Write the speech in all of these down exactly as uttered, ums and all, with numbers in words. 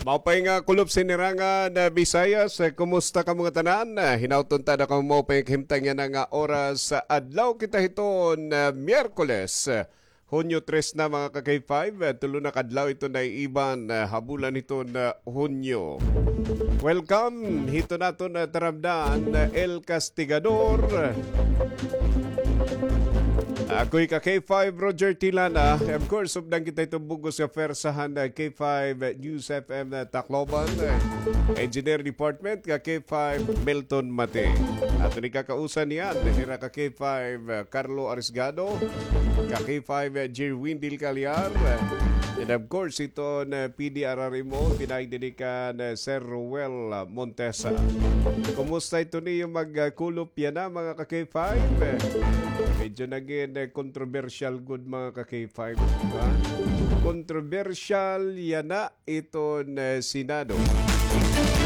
Maupay nga kulop sinirangan, ah, Visayas. Eh, kumusta kamo ngatanan? Ah, hinaot unta na kamo maupay nga kahimtang yana nga oras. Ah, adlaw kita hiton, ah, Miyerkules, ah, Hunyo tres na, mga ka-K five. Ah, tulo na ka adlaw iton naiiban, ah, ha bulan hiton, ah, Hunyo. Welcome hiton aton, ah, taramdan, ah, El Castigador. Ako hi ka-K five, Roger Tilana. Of course, updan kita hiton bug-os nga pwersa han, ah, K five News F M, ah, Tacloban, ah, Engineer Department, ka-K five Milton Mate. Aton ikakausan niyan, hira ka-K five, ah, Carlo Arisgado, ka-K five, ah, Jerwin Del Callar, ah, and of course, hiton, ah, P D R R M O, pinaagi dinhi kan, ah, Sir Ruel, ah, Montesa. Kumusta iton iyo mag, ah, kulop yana, mga ka-K five? Eh, medyo nagin, eh, kontrobersyal gud, mga ka-K five, ha? Kontrobersyal yana iton, eh, Senado.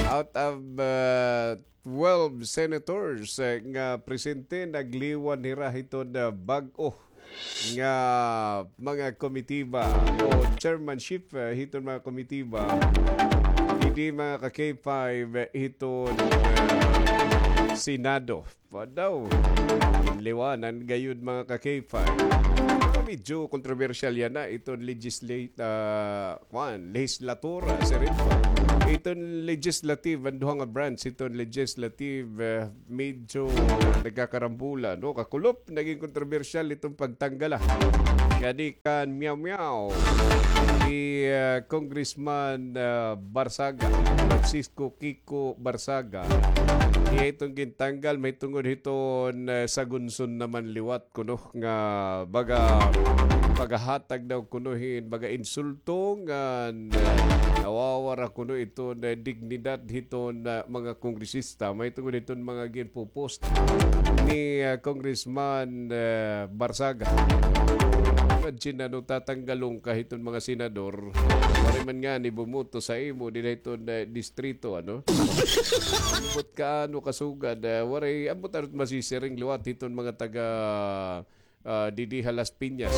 Out of, ah, twelve senators, eh, nga presente, nagliwan hira hiton, ah, bag-o nga mga komitiba o chairmanship, eh, hiton mga komitiba, didi, mga ka-K five, eh, hiton, eh, Senado. Pa daw. Liwanan gayud, mga ka-K five. Medyo kontrobersyal yana iton legislate, ah, kuan, lehislatura, siring pa. Iton legislative, an duha nga branch iton legislative, eh, medyo nagkakarambola, no? Kakulop, nagin kontrobersyal iton pagtanggala ngadi kan Meow Meow, hi, ah, Congressman, ah, Barzaga, Francisco Kiko Barzaga. Iya iton gintanggal mahitungod hiton, ah, sagunson naman liwat kuno nga baga paghahatag daw kuno hin baga insulto nga, ah, nawawara kuno iton, ah, dignidad hiton, ah, mga kongresista. Mahitungod hiton mga ginpopost ni, ah, Congressman, ah, Barzaga. Imagine, ano, tatanggalon ka hiton mga senador. Waray man ngani bumoto sa imo dinhi hiton, ah, distrito, ano? Ambot ka, ano, kasugad, ah, waray, ambot, ano, masisiring liwat hiton mga taga, ah, didi ha Las Piñas.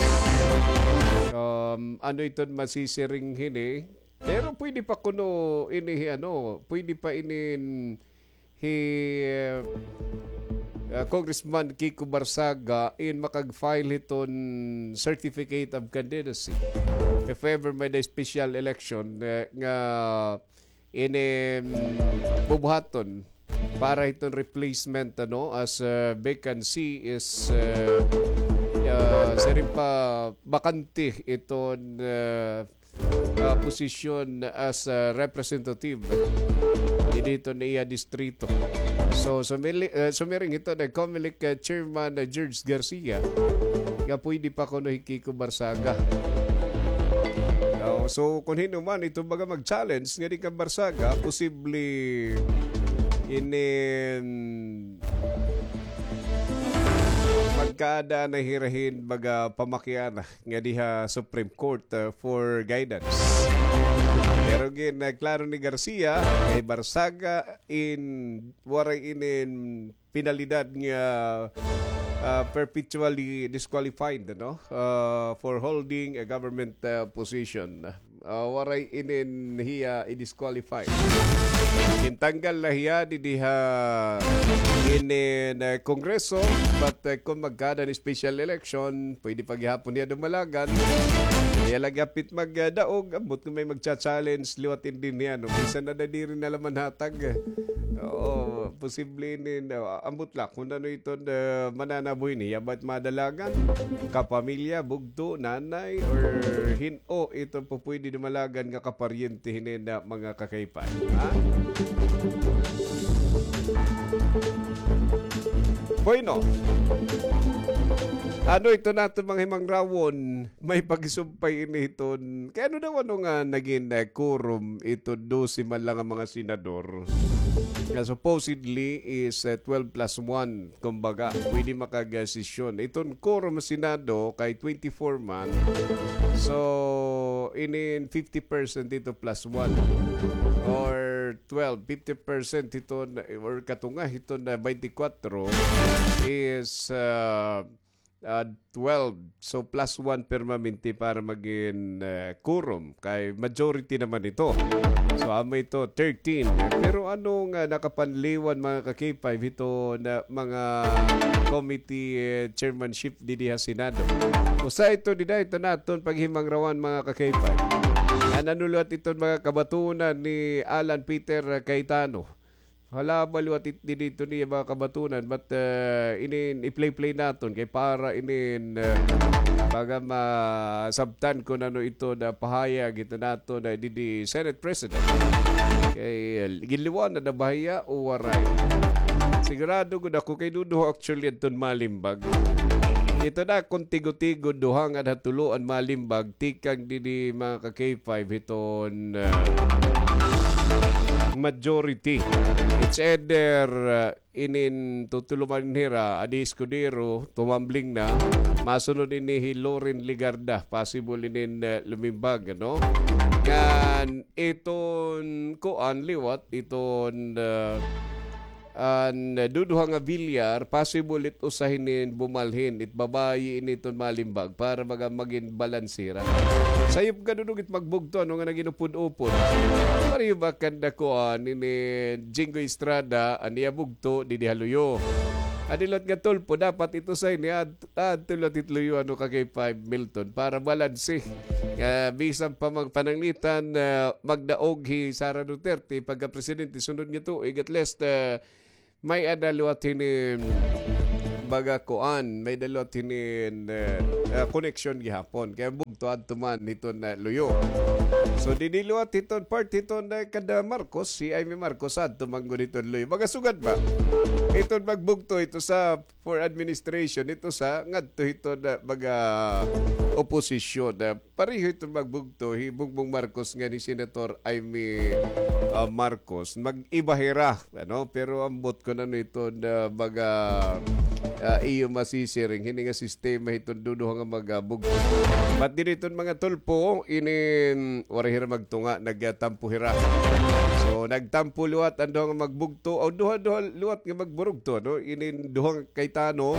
Um, ano iton masisiring hini? Pero pwede pa kuno ini, ano, pwede pa inin hi, ah, Congressman Kiko Barzaga in makag-file hiton certificate of candidacy if ever may-ada special election, eh, nga ini, mm, bubuhaton para hiton replacement, ano, as, ah, vacancy is, ah, ah, siring pa, bakante iton, ah, ah, posisyon as, ah, representative didi hiton iya distrito. So, sumili-, ah, sumiring hiton COMELEC, ah, Chairman, ah, George Garcia, nga pwede pa kuno hi Kiko Barzaga. Oh, so, kon hin-o man iton baga mag-challenge ngadi kan Barzaga, posible inin magkaada na hira hin baga pamakiana ngadi ha Supreme Court, uh, for guidance. Pero gin, uh, klaro ni Garcia, kay Barzaga in waray inin penalidad nga, uh, perpetually disqualified, no? Uh, for holding a government, uh, position. Ah, waray inin hiya i-disqualify. Gintanggal na hiya didi ha inin, eh, Kongreso, but, eh, kon magkaada hin special election, pwede pa gihapon hiya dumalagan. Hiya la gihapit magdaog, ambot kon may magcha-challenge, liwat inin hiya, no? Bisan na diri na la manhatag. Oo, posible inin, ah, ambot la kon ano iton, eh, mananabo hini, hiya ba it madalagan? Kapamilya, bugto, nanay, or hin-o iton pupwede dumalagan nga kaparyente hinin mga ka-K five, ha? Bueno, ano iton aton mga himangrawon? May pagsumpay ini hiton. Kay ano daw, ano nga nagin, eh, quorum iton dose man la nga mga senador? Nga supposedly is, eh, twelve plus one. Kumbaga, pwede makag-sesyon. Iton quorum Senado kay twenty-four man. So, inin fifty percent ito plus one. Or twelve, fifty percent ito na, or katunga ito na twenty-four is, ah, ah, twelve. So, plus one permanente para magin, ah, quorum. Kay majority naman ito. So, amo ito, thirteen. Pero ano nga nakapanliwan, mga ka-K five, ito na mga committee, eh, chairmanship didi ha Senado? Usa ito dida, ito naton paghimangrawan, mga ka-K five. Ano liwat iton mga kabatunan ni Alan Peter Cayetano? Hala, ba liwat it-, didi ito niya mga kabatunan, but, eh, inin i-play-play naton kay para inin, eh, baga masabtan kon ano ito na pahayag ito naton na didi Senate President. Kay, eh, ginliwan na na ba hiya o waray? Sigurado gud ako kay duduha actually adton malimbag. Ito na kon tigo-tigo, duha nga ha tulo an malimbag, tikang didi mga ka-K five hiton, ah, majority. It's either, ah, inin tutuluman hira, Adi Escudero, tumambling na, masunod ini hi Loren Legarda, possible inin, ah, lumimbag, ano? Ngan iton kuan liwat, iton, ah, an, eh, duduha nga Villar, possible it usa hinin bumalhin, it babayi ini iton malimbag para baga magin balanse hira. Sayop nga dudong it magbugto, ano nga nagin upod-upod. Pareho ba kanda kuan ini Jinggoy Estrada, an iya bugto, didi ha luyo. An liwat nga Tulfo, dapat it usa hini, ad-, adto liwat it luyo, ano, ka-K five Milton, para balanse. Ah, bisan pa magpananglitan, ah, magdaog hi Sara Duterte pagka-presidente sunod nga tuig, at least, ah, may-ada liwat hini, baga kuan, may-ada liwat hini, ah, ah, koneksyon gihapon. Kay bugto adto man hiton luyo. So, didi liwat hiton part hiton, ah, kada Marcos, hi Imee Marcos adto man gud hiton luyo. Baga sugad ba? Iton magbugto, ito sa for administration, ito sa ngadto hiton, ah, mga oposisyon. Ah, pareho iton magbugto, hi Bongbong Marcos ngan hi Senator Imee, ah, Marcos. Mag-iba hira, ano? Pero ambot kon ano iton, ah, mga, ah, iyo masisiring, hini nga sistema hiton duduha nga mga bugto. But didi hiton mga Tulfo, inin waray hira magtunga, nagtampo hira. So, nagtampo liwat an duha nga magbugto, o duha-duha liwat nga magburugto, no? Inin duha nga Cayetano,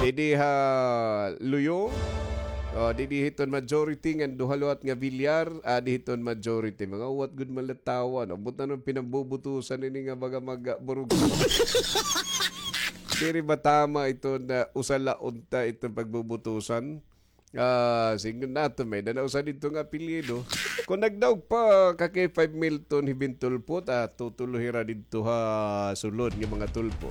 didi ha luyo, o, didi hiton majority, ngan duha liwat nga Villar, ah, didi hiton majority. Mga uwat gud man la tawo, no? Ambot ano pinambubutusan ini nga baga magburugto. Diri ba tama iton usa la unta iton pagbubutusan? Ah, sidngon naton, may-ada na usa didto nga apelyido. Kon nagdaog pa ka-K five Milton hi Ben Tulfo, ta tutulo hira didto ha sulod nga mga Tulfo.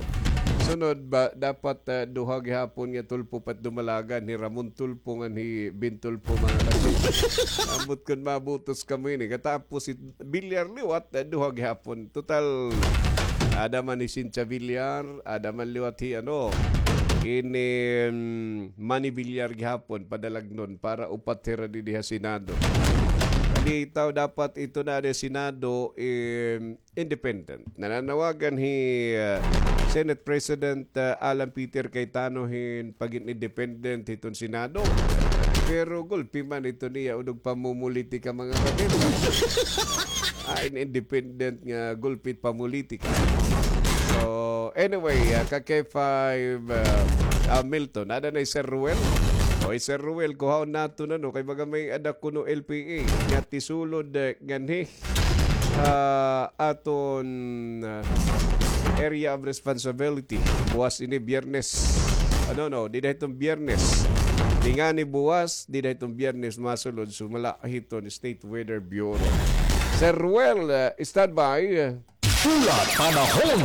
Sunod ba, dapat, ah, duha gihapon nga Tulfo pa it dumalagan, hi Ramon Tulfo ngan hi Ben Tulfo, mga ka-K five. Ambot kon mabutos kamo ini. Katapos hi Villar liwat, ah, duha gihapon. Total, ada man hi Cynthia Villar, ada man liwat hi, ano, ini, mm, Manny Villar gihapon, padalagnon para upat hira didi ha Senado. Bitaw dapat ito na ada Senado, eh, independent. Nananawagan hi, ah, Senate President, ah, Alan Peter Cayetano hin pagin independent hiton Senado. Pero gulpi man ito niya, unog pamumulitika, mga kapatid. Ah, in independent nga gulpi it pamumulitika. So, anyway, ah, ka-K five, ah, ah, Milton, ada na hi Sir Ruel. O, hi Sir Ruel, kuhaon naton, ano, kay baga may-ada kuno L P A nga tisulod, eh, nganhi, ah, aton, ah, area of responsibility. Buwas ini Biyernes. Ano, no, dida hiton Biyernes. Di ngani buwas, dida hiton Biyernes masulod sumala hiton State Weather Bureau. Sir Ruel, ah, standby. Pula Panahon.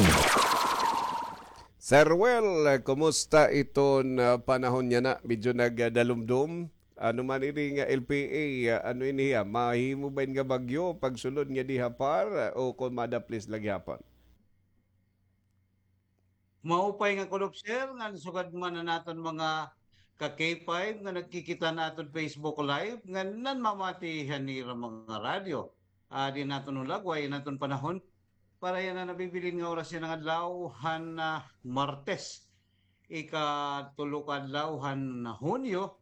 Sir Ruel, kumusta iton, ah, panahon yana? Medyo nagdalumdom. Ano man ini nga L P A, ah, ano ini hiya? Mahimo ba ini nga bagyo pagsulod nga diha par, ah, o kon madaplis la gihapon? Maupay nga kudop, sir, ngan sugad man an aton mga ka-K five nga nagkikita han aton Facebook Live, ngan nanmamati han ira mga radyo. Ah, di naton ulagway an aton panahon. Para yana nabibilin nga oras yana nga adlaw han, ah, Martes, ikatulo ka adlaw han Hunyo,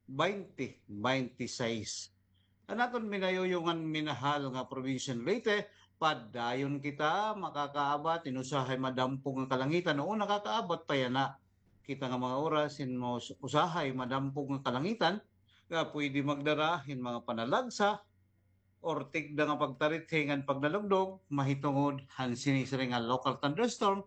baynte baynte sais. An aton minayuyo ngan minahal nga probinsya han Leyte, padayon kita makakaabat hin usahay madampog nga kalangitan, o nakakaabat pa yana. kita nga mga oras hin mas usahay madampog nga kalangitan nga pwede magdara hin mga panalagsa or tigda nga pagtarithi ngan pagnalugdog mahitungod han sini-sini nga local thunderstorm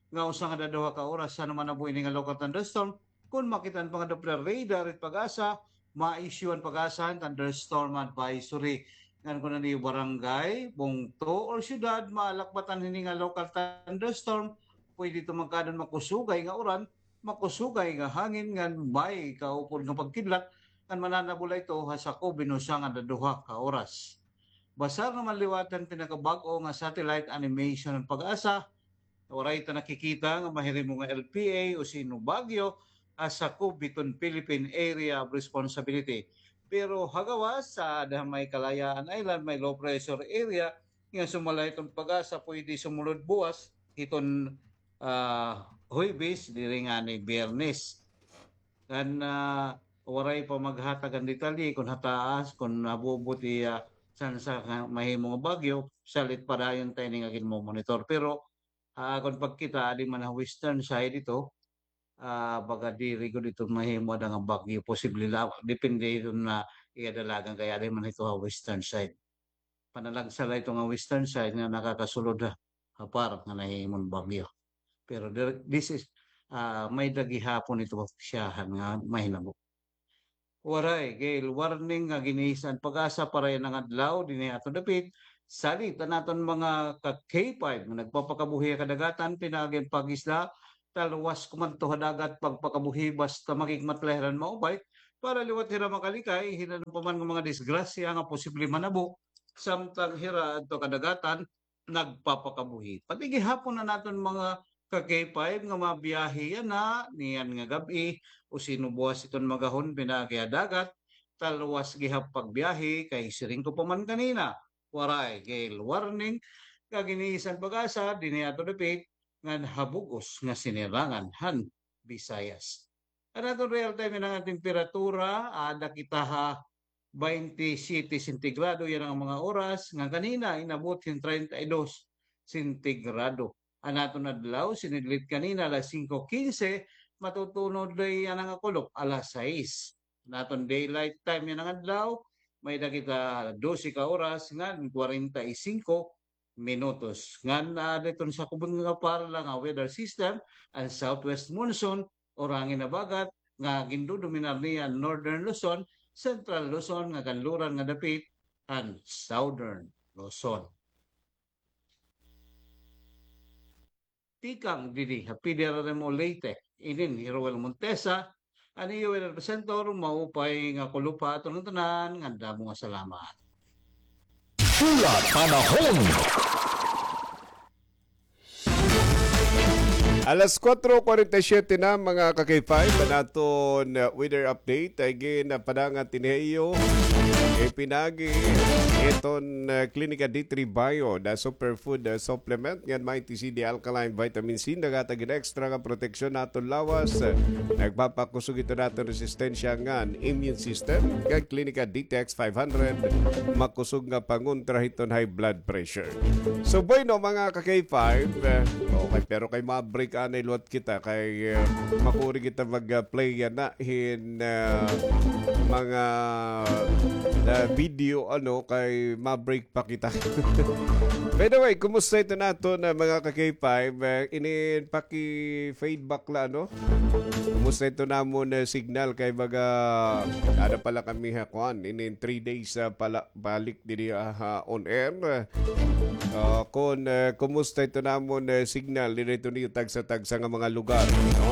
nga usa nga daduha ka oras. Ano man nabuhi ini nga local thunderstorm, kon makita an mga Doppler radar it PAGASA, ma-issue an PAGASA hin thunderstorm advisory. Ngan kon an iyo barangay, bungto, or syudad maalakbatan hini nga local thunderstorm, pwede ito magkaada hin makusugay nga uran, makusugay nga hangin ngan may kaupod nga pagkidlat ngan mananabula ito ha sakob hin usa ngan daduha ka oras. Basar naman liwat han pinakabag-o nga satellite animation han PAGASA, waray ta nakikita nga mahirimo nga L P A o sino bagyo ha sakob hiton Philippine Area of Responsibility. Pero ha gawas, sa ada ha may Kalayaan Island, may low pressure area, nga sumala hiton PAGASA pwede sumulod buwas hiton, ah, Huwebes diri ngani Biyernes. Ngan, ah, waray pa maghatag an detalye kon ha taas, kon nabubuti, ah, tsansa nga mahimo nga bagyo, salit padayon ta ini nga ginmo-monitor. Pero, ah, kon pagkita, adi man ha western side ito, ah, baga diri gud ito mahimo ada nga bagyo, posible la, depende ito na iya dalagan kay adi man ito ha western side. Panalagsa la ito nga western side nga nakakasulod ha, ha PAR nga nahimong bagyo. Pero there, this is, ah, may-ada gihapon ito siyahan nga mahinabo. Waray gale warning nga gin-issue an PAGASA para yana nga adlaw dinhi ha aton dapit. Salit an aton mga ka-K five nga nagpapakabuhi ha kadagatan, pinaagi an pag-isda, talwas kumadto ha dagat pagpakabuhi basta makigmat la hira hin maupay para liwat hira makalikay hin ano pa man nga mga disgrasya nga posible manabo samtang hira adto kadagatan nagpapakabuhi. Pati gihapon an aton mga ka-K five nga mabiyahe yana niyan nga gab-i o sino buwas iton magahon pinaagi ha dagat, talwas gihap pagbiyahe kay siring ko pa man kanina, waray gale warning nga gin-issue an PAGASA dinhi ha aton dapit ngan ha bug-os nga sinirangan han Visayas. An aton real time yana nga temperatura, ada kita ha baynte siyete sentigrado yana nga mga oras, nga kanina inabot hin treinta y dos sentigrado. An aton adlaw, sinidlit kanina alas singko kinse, matutunod la yana nga kulop alas sais. An aton daylight time yana nga adlaw, may-ada kita dose ka oras ngan kwarenta y singko minutos. Ngan, ah, didto sa kubon nga PAR la nga weather system, an southwest monsoon or hangin habagat nga gindodominar niya an northern Luzon, central Luzon nga kanluran nga dapit, an southern Luzon. Tikang didi ha P D R R M O Leyte, inin hi Roel Montesa, an iyo weather presenter, maupay nga kulop ha aton tanan, ngan damo nga salamat. Pula Panahon. Alas kuwatro kwarenta y siyete na, mga ka-K five, an aton, uh, weather update. Ay gin, uh, padangat ini ha iyo. Ipinagi iton, uh, Klinika D three Bio, the superfood, uh, supplement, ngan Mighty C D Alkaline Vitamin C, naghatag hin extra nga proteksyon ha aton lawas. Nagpapakusog ito ha aton resistensya ngan immune system. Ngan Klinika D T X five hundred, makusog nga pangontra hiton high blood pressure. So, bueno, mga ka-K five, eh, okay, pero kay ma-break anay liwat kita kay, eh, makuri kita mag-, ah, play yana hin, ah, mga, ah, video, ano, kay ma-break pa kita. By the way, kumusta ito naton, ah, mga ka-K five? Eh, inin paki-feedback la, ano? Kumusta ito namon, ah, signal kay baga, ada pala kami ha kuan, inin three days, ah, pala balik didi, ah, ha on air. Ah, kon, ah, kumusta ito namon, ah, signal didi ito niyo tagsa-tagsa nga mga lugar, no?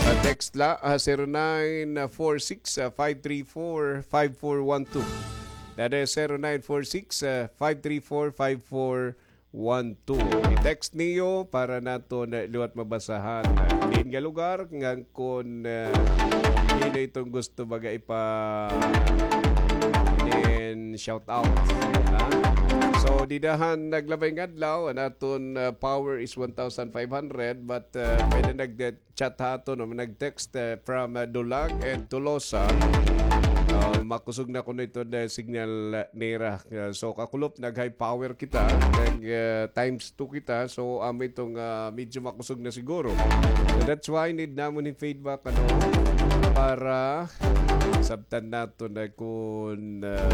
Ah, text la, ah, zero nine four six, ah, five three four, five four one two. That is zero nine four six, ah, five three four, five four one two. I-text niyo para naton liwat mabasahan. Diin nga lugar, ngan kon, ah, hin-o iton gusto baga ipa-, in shout out. Ha? So, dida han naglabay nga adlaw, an aton, ah, power is one thousand five hundred, but, ah, may-ada nag-, chat ha aton, no, nag-text, eh, from, eh, Dulag and Tolosa. Ah, makusog na kuno iton, ah, signal, ah, nira. Ah, so, kakulop, nag-high power kita, nag, ah, times two kita. So, amo iton, ah, medyo makusog na siguro. So, that's why need namon hin feedback, ano, para sabtan naton na kon, ah,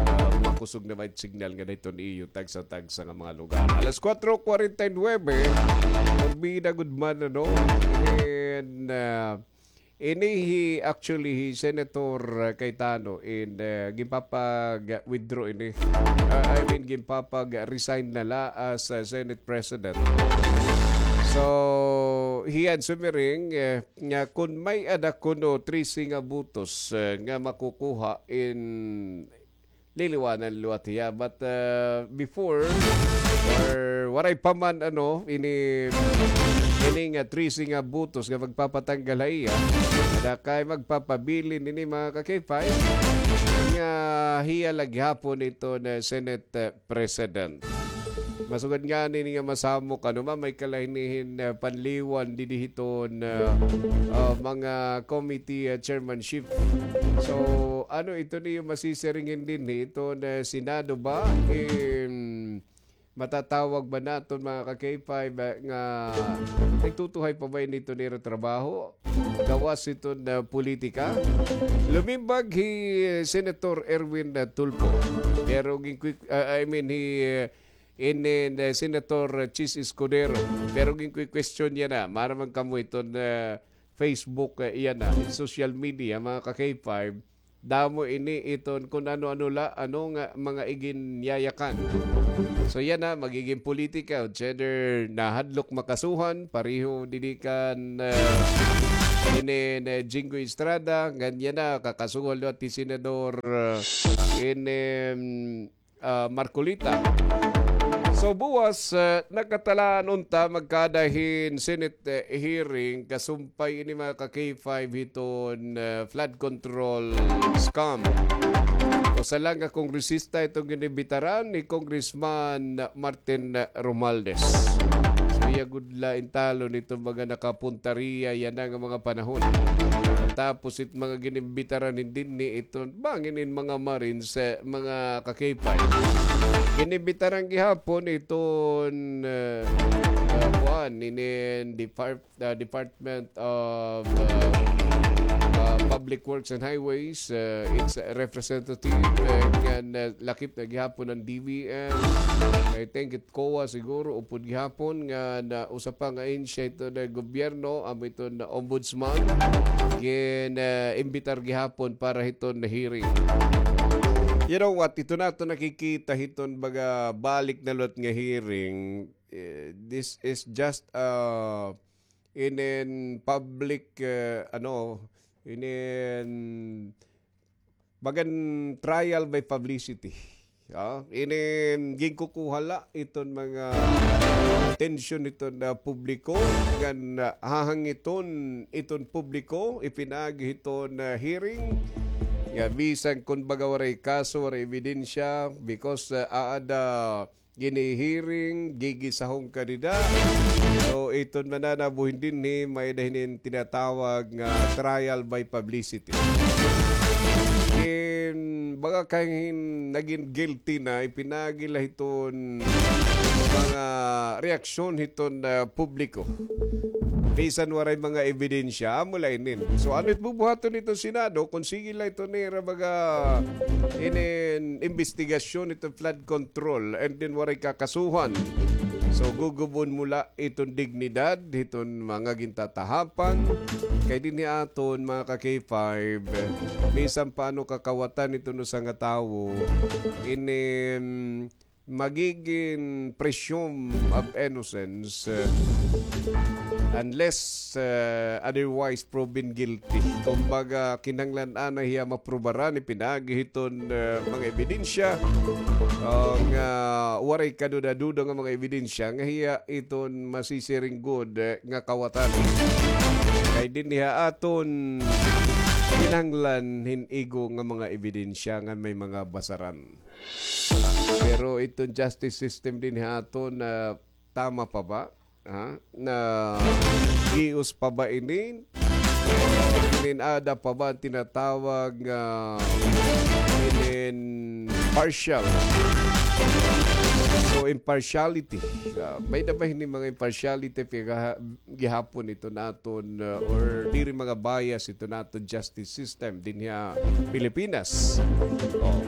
ah, makusog na ba it signal nga dayton iyo tagsa-tagsa nga mga lugar. Alas kuwatro kuwarenta y nuwebe, pagbida gud man, ano, and, ah, ini hi, actually, hi Senator, uh, Cayetano in, uh, ginpapag-withdraw ini. Uh, I mean, ginpapag-resign na la as, uh, Senate President. So, hiya an sumiring, uh, nga kon may-ada kuno trese nga botos, uh, nga makukuha in liliwanan liwat hiya. But, uh, before, or waray pa man, ano, ini, ini nga trese nga botos nga magpapatanggal ha iya, ada kay magpapabilin ini, mga ka-K five, nga hiya la gihapon iton Senate, uh, President. Masugad ngani ini nga masamok, ano, ma, may kalain-lain hin, uh, panliwan didi hiton, uh, uh, mga committee, uh, chairmanship. So, ano, iton iyo masisiring dinhi, iton, uh, Senado ba? Em, matatawag ba naton, mga ka-K five, uh, nga nagtutuhay pa ba ini hiton ira trabaho? Gawas hiton, uh, politika? Lumimbag hi, uh, Senator Erwin, uh, Tulfo. Pero ginkwik-, uh, I mean, hi, uh, in, in, uh, Senator Chiz Escudero. Pero ginkukwestiyon yana, maaram man kamo iton, uh, Facebook, uh, yana, in social media, mga ka-K five, damo ini iton kun ano-ano la, ano nga mga iginyayakan. So yana, magigin politika, whether nahadlok makasuhan, pareho didi kan, uh, ini, uh, Jinggoy Estrada, ngan yana, kakasuhan liwat hi Senador, uh, ini, um, ah, Marcoleta. So, buwas, ah, nakatalaan unta magkaada hin Senate, eh, hearing kasumpay ini, mga ka-K five, hiton, ah, flood control scam. Usa la nga kongresista iton ginimbitaran, ni Congressman Martin Romualdez. So, iya gud la in talon iton mga nakapunta riya yana nga mga panahon. Tapos it mga ginimbitaran hin dinhi iton bangin in mga Marines, eh, mga ka-K five. Ginimbitaran gihapon iton, eh, eh, kuan, inin Depart-, ah, Department of, ah, ah, Public Works and Highways, eh, its representative, eh, ngan, eh, lakip na gihapon an D V M. I think it COA siguro, upod gihapon nga na usa pa nga ahensya hiton gobyerno, amo iton ombudsman, gin, ah, imbitar gihapon para hiton hearing. You know what? Ito naton nakikita hiton baga balik na liwat nga hearing. Eh, this is just, ah, inin public, ah, ano, inin bagan trial by publicity. Ah, inin ginkukuha la iton mga atensyon hiton, ah, publiko, ngan, ah, hahangiton iton publiko, ipinaagi hiton, ah, hearing, nga bisan kon baga waray kaso, waray ebidensya, because, ah, aada ginihiring, gigisahon ka dida. So, iton mananabuhin dinhi, may-ada hinin tinatawag nga trial by publicity. Kin, baga kay hin-, nagin guilty na, ipinaagi la hiton mga reaksyon hiton, ah, publiko. Bisan waray mga ebidensya, amo la inin. So, ano it bubuhaton hiton Senado, kon sige la iton nira baga inin imbestigasyon hiton flood control, and then waray kakasuhan. So, gugubon mo la iton dignidad hiton mga gintatahapan. Kay dinhi aton, mga ka-K five, bisan pa ano kakawatan hiton usa nga tawo, inin magigin presume of innocence, eh, unless, eh, otherwise proven guilty. Kumbaga, kinahanglan anay hiya maprubaran, ipinaagi hiton, eh, mga ebidensya, ah, nga waray kaduda-duda nga mga ebidensya nga hiya iton masisiring gud, eh, nga kawatan. Kay dinhi ha aton kinahanglan hin igo nga mga ebidensya nga may mga basaran. Pero iton justice system dinhi ha aton, ah, tama pa ba? Ha? Nahius pa ba ini? Inin ada pa ba an tinatawag nga inin partial? So, impartiality. Ah, may-ada ba hini mga impartiality, pagka gihapon ito naton, uh, or diri mga bias ito naton justice system dinhi ha Pilipinas. Oh.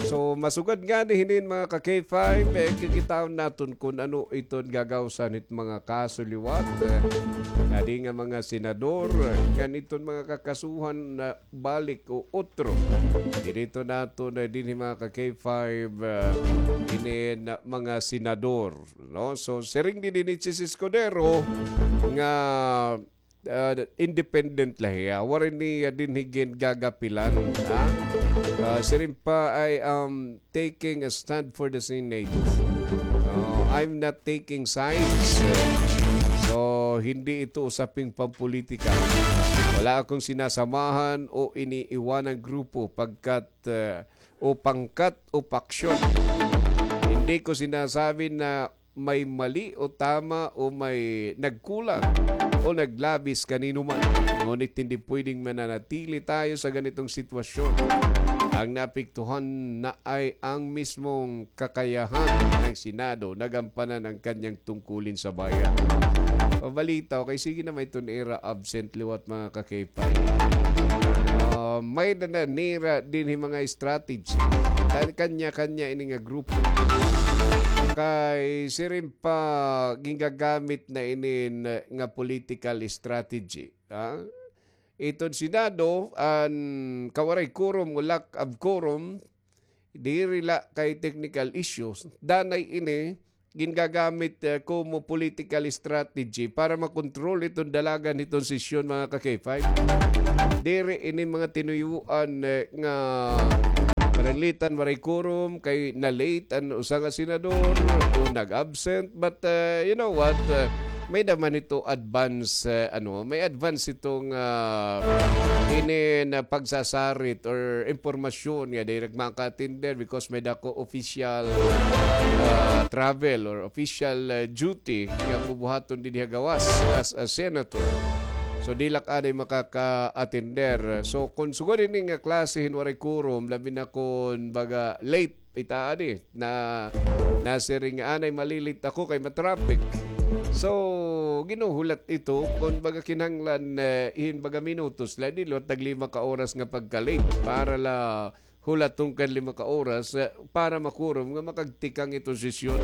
So, masugad ngani hinin mga ka-K five, eh, kikitaon naton kun ano iton gagawsan hit mga kaso liwat, eh, ngadi nga mga senador, eh, ngan iton mga kakasuhan na balik o otro. Dinhi naton, eh, dinhi mga ka-K five, eh, inin mga senador. No? So, siring dinhi ni Chiz Escudero nga, ah, independent la hiya. Waray niya dinhi gin-gagapilan, ha? Ah, siring pa, "I am taking a stand for the Senate. No, I'm not taking sides." So, hindi ito usaping pampolitika. Wala akong sinasamahan o iniiwanang grupo pagkat, ah, o pangkat o paksyon. Hindi ko sinasabi na may mali o tama o may nagkulang o naglabis kanino man. Ngunit hindi pwedeng mananatili tayo sa ganitong sitwasyon. Ang naapektuhan na ay ang mismong kakayahan ng Senado na gampanan ang kanyang tungkulin sa bayan. Pabalita, okay, sige na, may tunira absent liwat, mga ka-K five. Ah, may-ada na nira dinhi mga strategy. Kan-, kanya-kanya ini nga grupo. Kay siring pa gingagamit na ini na, nga political strategy, ha? Iton Senado, an kawaray quorum o lack of quorum, diri la kay technical issues. Danay ini gingagamit, eh, komo political strategy para makontrol iton dalagan hiton sesyon, mga ka-K five. Diri ini mga tinuyuan, eh, nga pananglitan, waray quorum, kay na-late an usa nga senador o nag-absent. But, eh, you know what? Eh, may-ada man ito advance, eh, ano, may advance itong, ah, ini na pagsasarit or impormasyon nga diri maka-attender because may-ada ko official, ah, travel or official, ah, duty nga bubuhaton dinhi ha gawas as a senator. So, diri la anay makaka-attender. So, kon sugad ini nga klase hin waray quorum, labi na kon baga late, ita adi, na, nasiring nga anay malilit ako kay matraffic. So, ginuhulat ito, kon baga kinahanglan, eh, hin baga minutos la, diri liwat tag lima ka oras nga pagka-late para la hulaton kan lima ka oras, eh, para makurom nga makagtikang iton sesyon.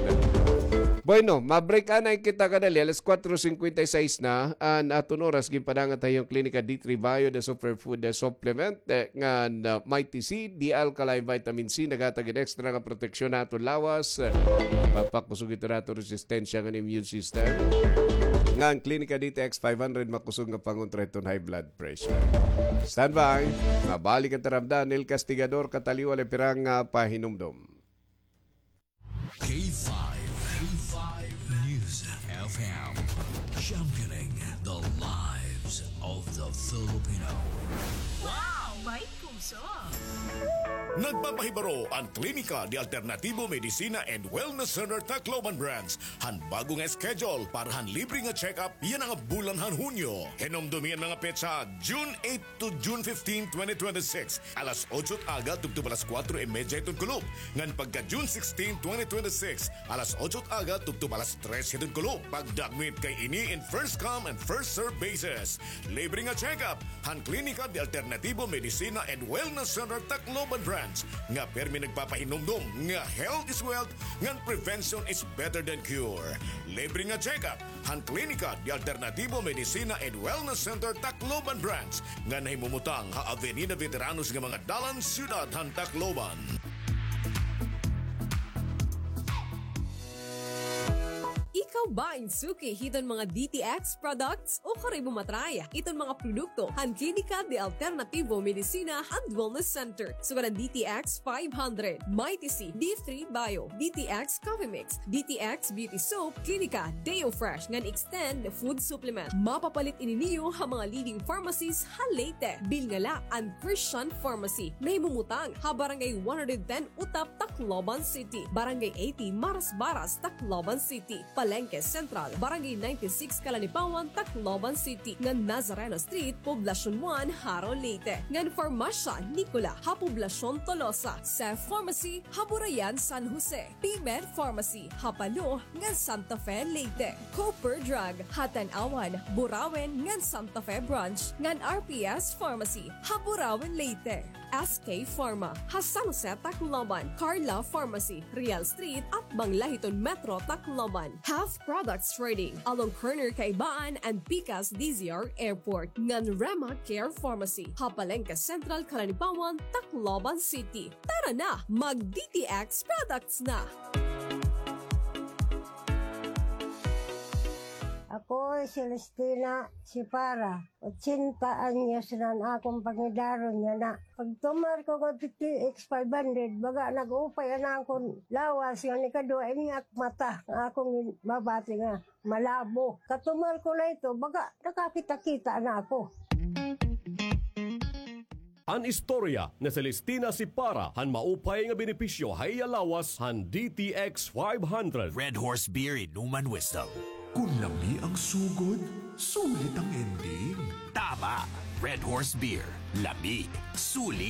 Bueno, ma-break anay kita kadali, alas kuwatro singkwenta y seis na an aton oras, ginpadangat ha iyo an Klinika D three Bio, the superfood, the supplement, eh, ngan, ah, Mighty C, the alkaline vitamin C, naghatag hin extra nga proteksyon ha aton lawas, eh, papakusog ito ha aton resistensya ngan immune system. Ngan Klinika D T X five hundred, makusog nga pangontra hiton high blood pressure. Standby. Mabalik an taramdan, El Castigador, Kataliwal, pirang, ah, pahinumdom. K five, K five News F M, championing the lives of the Filipino. Wow! May puso! Nagpapahibaro an Klinika de Alternativo Medicina and Wellness Center Tacloban Branch han bago nga schedule para han libre nga check-up yana nga bulan han Hunyo. Hinumdomi an mga petsa, June eight to June fifteen, twenty twenty-six, alas otso hit aga tubtob alas kuwatro y medya hiton kulop. Ngan pagka June sixteen, twenty twenty-six, alas otso hit aga tubtob alas tres hiton kulop. Pagdagmit kay ini in first come and first serve basis. Libre nga check-up han Klinika de Alternativo Medicina and Wellness Center Tacloban Branch nga pirmi nagpapahinumdom nga health is wealth ngan prevention is better than cure. Libre nga check-up han Klinika de Alternativo Medicina and Wellness Center Tacloban Branch nga nahimumutang ha Avenida Veteranos nga mga dalan, siyudad han Tacloban. Ikaw ba in suki hiton mga D T X products o karibo matry iton mga produkto han Klinika de Alternativo Medicina and Wellness Center? Sugad an D T X five hundred, Mighty C, D three Bio, D T X Coffee Mix, D T X Beauty Soap, Klinika, Deo Fresh, ngan Extend Food Supplement. Mapapalit ini niyo ha mga leading pharmacies ha Leyte. Bilnga la an Christian Pharmacy. Nahimumutang ha Barangay one hundred ten Utap, Tacloban City. Barangay eighty Marasbaras, Tacloban City. Palengke Central, Barangay ninety-six, Calanipawan, Tacloban City, ngan Nazareno Street, Poblacion one, Jaro, Leyte, ngan Farmacia Nicola ha Poblacion Tolosa, Cef Pharmacy ha Burayan, San Jose, P-Med Pharmacy ha Palo ngan Santa Fe, Leyte, Cooper Drug ha Tanauan, Burauen ngan Santa Fe Branch, ngan R P S Pharmacy ha Burauen, Leyte, S K Pharma ha San Jose, Tacloban, Carla Pharmacy, Real Street, atbang la hiton Metro Tacloban, Half Products Trading along corner Kaibaan and Pikas D Z R Airport, ngan Rema Care Pharmacy ha Palenque Central, Calanipawan, Tacloban City. Tara na, mag D T X products na! Ako si Celestina Sipara, otsenta anyos na an akon pangidaron yana. Pagtumar ko nga D T X five hundred, baga nag-upay an akon lawas, nga ikaduha ini ak mata nga akon mabati nga malabo. Katumar ko na ito, baga nakakita-kita na ako. An istorya ni Celestina Sipara han maupay nga benepisyo ha iya lawas han D T X five hundred. Red Horse Beer, Inuman Wisdom. Kun lami ang sugod, sulit ang ending. Tama! Red Horse Beer, lami, sulit.